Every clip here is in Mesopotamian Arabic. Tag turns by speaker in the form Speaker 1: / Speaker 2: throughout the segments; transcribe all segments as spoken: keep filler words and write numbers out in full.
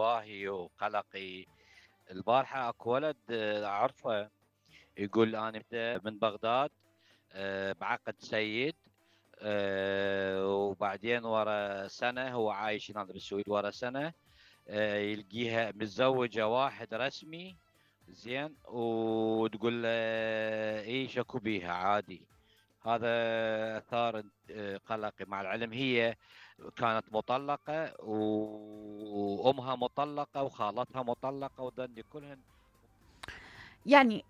Speaker 1: انتباهي وقلقي. البارحة اكو ولد اعرفه يقول انا من بغداد بعقد سيد، وبعدين ورا سنة هو عايش هنا بالسويد، ورا سنة يلقيها متزوجة واحد رسمي زين، وتقول له ايش اكو بيها عادي. هذا اثار قلقي، مع العلم هي كانت مطلقة وامها مطلقة وخالتها مطلقة وذني كلهن.
Speaker 2: يعني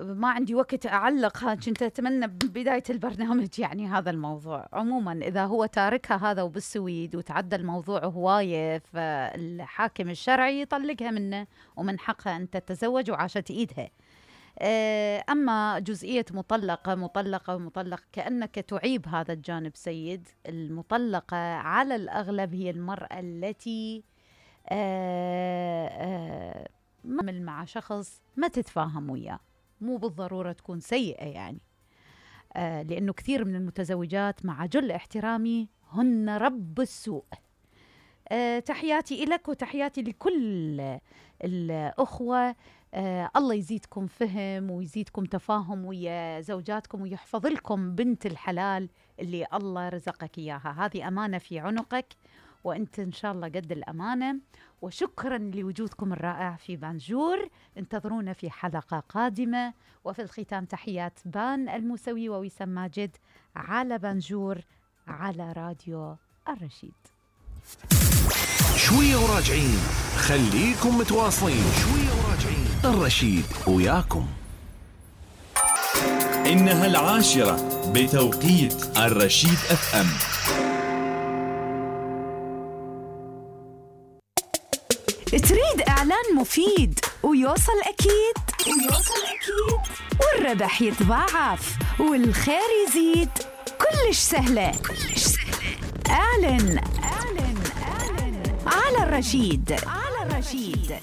Speaker 2: ما عندي وقت أعلق، ها كنت أتمنى ببداية البرنامج يعني هذا الموضوع. عموما إذا هو تاركها هذا وبالسويد وتعدى الموضوع هواية، فالحاكم الشرعي يطلقها منه ومن حقها أن تتزوج وعاشت إيدها. أما جزئية مطلقة مطلقة ومطلق، كأنك تعيب هذا الجانب سيد. المطلقة على الأغلب هي المرأة التي آآ آآ تعمل مع شخص ما تتفاهم وياه، مو بالضرورة تكون سيئة يعني، آه لأنه كثير من المتزوجات مع جل احترامي هن رب السوء. آه تحياتي إلك وتحياتي لكل الأخوة. آه الله يزيدكم فهم ويزيدكم تفاهم ويا زوجاتكم ويحفظ لكم بنت الحلال اللي الله رزقك إياها. هذه أمانة في عنقك وأنت إن شاء الله قد الأمانة. وشكرا لوجودكم الرائع في بانجور. انتظرونا في حلقة قادمة. وفي الختام تحيات بان الموسوي ووسام ماجد على بانجور على راديو الرشيد.
Speaker 3: شوية وراجعين، خليكم متواصلين. شوية وراجعين، الرشيد وياكم.
Speaker 4: إنها العاشرة بتوقيت الرشيد اف ام.
Speaker 5: تريد إعلان مفيد ويوصل أكيد ويوصل أكيد والربح يتضاعف والخير يزيد؟ كلش سهلة كلش سهلة. أعلن أعلن أعلن على الرشيد على الرشيد.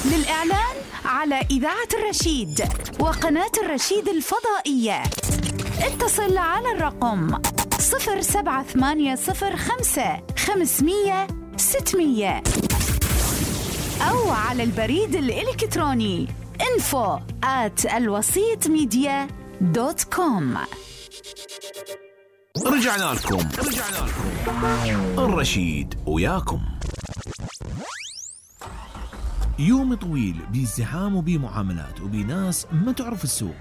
Speaker 5: للإعلان على إذاعة الرشيد وقناة الرشيد الفضائية اتصل على الرقم صفر سبعة ثمانية صفر خمسة خمسمية ستمية أو على البريد الإلكتروني info at الوسيط ميديا دوت كوم.
Speaker 3: رجعنا لكم رجعنا لكم الرشيد وياكم. يوم طويل بازدحام وبمعاملات وبناس ما تعرف السوق.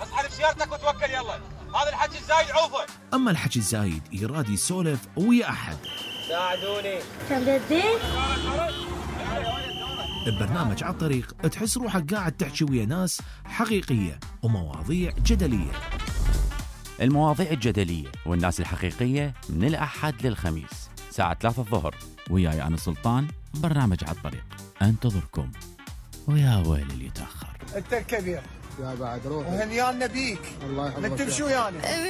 Speaker 6: اسحب سيارتك وتوكل يلا، هذا الحكي الزايد عوفه.
Speaker 3: أما الحكي الزايد يراد يسولف ويا أحد.
Speaker 6: ساعدوني.
Speaker 7: تبدين؟
Speaker 3: ببرنامج على الطريق تحس روحك قاعد تحكي ويا ناس حقيقية ومواضيع جدلية.
Speaker 8: المواضيع الجدلية والناس الحقيقية من الأحد للخميس ساعة ثلاثة الظهر، وياي أنا سلطان. برنامج على الطريق انتظركم. ويا ويل اللي يتأخر.
Speaker 6: انت الكبير
Speaker 9: يا بعد روح
Speaker 6: وهنيان نبيك.
Speaker 9: الله يحفظك.
Speaker 6: نتمشوا يعني